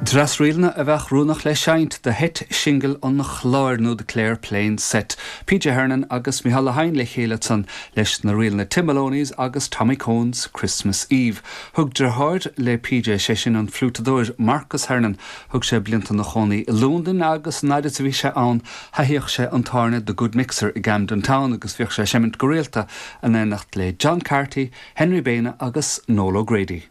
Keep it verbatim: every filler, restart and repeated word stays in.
Dreas ríleanna a bheadh oiriúnach le seinnt do sheit singil an chláir nó the Clare Playing Set. PJ Hernan agus Micheál Lehane le chéile ansan leis na ríleanna Tim Maloney's agus Tommy Cone's Christmas Eve. Thug deartháir le PJ sé sin an fliútadóir Marcus Hernan thug sé blianta ina chónaí i Londain agus nuair a bhí sé ann théadh sé an tábhairne The Good Mixer i Camden Town agus bhíodh sé ag seimint go rialta in éineacht le John Carty, Henry Baina agus Noel O'Grady.